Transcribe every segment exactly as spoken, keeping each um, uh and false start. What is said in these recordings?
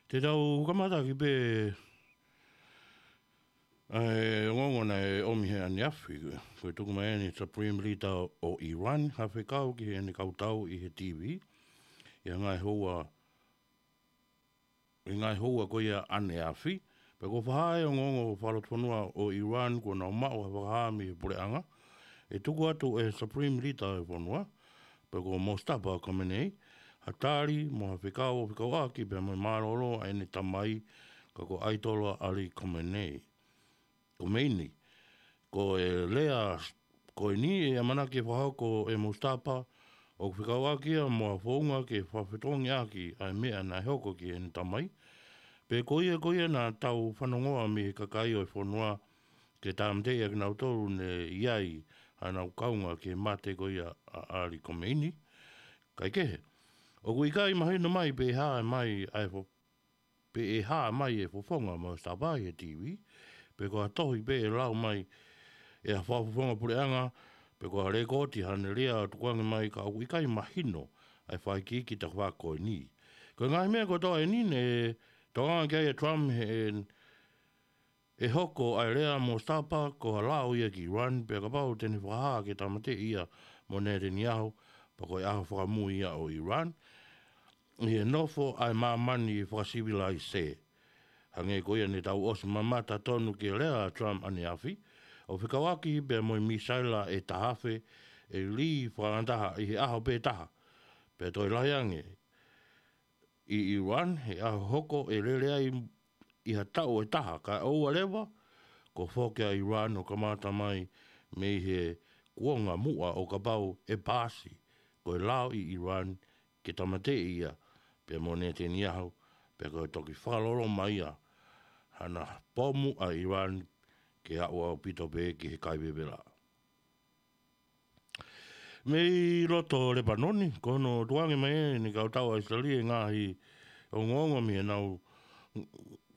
Te tau kamata ki pē ʻa e ongoongo naʻe ʻomi he ʻaneafi, ko e tuku mai ʻeni Supreme Leader ʻo Iran, ha fekau ki heʻene kau tau ʻi he T V, ʻi he ngaahi houa, ʻi he ngaahi houa ko ia ʻaneafi, pea ko e faʻahi ongoongo fakalotofonua ʻo Iran kuo nau maʻu ha fakahā mei he puleʻanga, ʻe tuku atu ʻe he Supreme Leader ʻo e fonua, pe ko Mojtaba Khamenei, ha tali mo ha fekau ʻo fekauʻaki pea mo e mālōlō ʻa ʻene tamai, ka ko Ayatollah Ali Khamenei. Khomeini, ko e lea ko eni ʻe ʻamanaki ke fakahoko ʻe Mojtaba, ʻoku fekauʻaki ia mo ha founga ke fakafetongiʻaki ʻa e meʻa naʻe hoko ki heʻene tamai. Pea ko ia ko ia naʻa tau fanongoa mei he kakai ʻo e fonua ke tāmateʻi ʻa kinautolu ne ʻi ai haʻanau kaunga ki he mate ko ia ʻa Ali Khomeini. Kaekehe, ʻoku ʻikai mahino mai pe ʻe hā mai ʻa e fo-, pe ʻe hā mai e fofonga ʻo Mojtaba ʻi he T V, pe ko ha tohi pē ʻe lau mai ʻe ha fakafofonga puleʻanga, pe ko ha lēkooti haʻane lea ʻo tukuange mai, ka ʻoku ʻikai mahino ʻa e fakaikiiki taha ko eni. Ko e ngaahi meʻa kotoa ʻeni ne tokanga ki ai ʻa Trump he ʻe hoko ʻa e lea ʻa Mojtaba ko ha lao ia ki Iran, pea kapau te ne fakahā ke tāmateʻi ia mo Netanyahu, pea ko e ʻaho fakamui ia ʻo Iran ʻi he nofo ʻa e māmani fakasivilaise. Hangē ko ia ne tau ʻosi mamata tonu ki he lea ʻa Trump ʻaneafi, ʻo fekauʻaki pea mo e misaila ʻe taha afe ʻe lī fakangataha ʻi he ʻaho pē taha, pea toe lahi ange ʻi Iran he ʻaho hoko ʻe lele ai ʻi ha taʻu ʻe taha, kae ʻoua leva kuo foki ʻa Iran ʻo kamata mai mei he kuonga muʻa ʻo kapau ʻe paasi ko e lao ʻi Iran ke tāmateʻi ia pea mo Netanyahu, pea ko e toki fakaloloma ia hana pomu ʻa Iran ke aʻu ʻaupito pē ki he kai vevela. Mei loto Lepanoni, ko hono tukuange mai ʻeni ʻe he kau tau ʻa ʻIsileli e ngaahi ongoongo mei heʻenau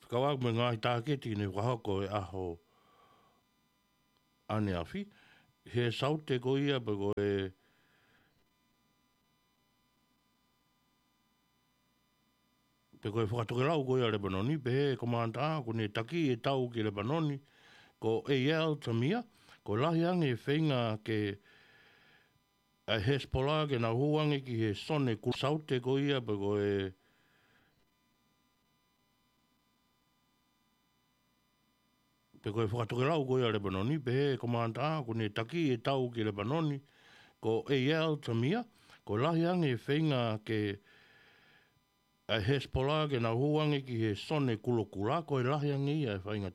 fekauʻaki mo e ngaahi tāketi ne fakahoko he ʻaho ʻaneafi. He saute ko ia pe ko e, pe ko e fakatokelau ko ia ʻa Lepanoni, pehē ʻe he komanta ʻoku ne taki e tau ki Lepanoni, ko Eyal Zamir, ko e lahi ange e feinga ke ʻa e Hezbollah ke nau hū ange ki he zone ku-, saute ko ia pe ko e, pe ko e fakatokelau ko ia ʻa Lepanoni, pehē ʻe he komanta ʻoku ne taki e tau ki Lepanoni, ko Eyal Zamir, ko e lahi ange e feinga ke ʻa e Hezbollah ke nau hū ange ki he zone kulokula, ko e lahi ange ia e faingataʻa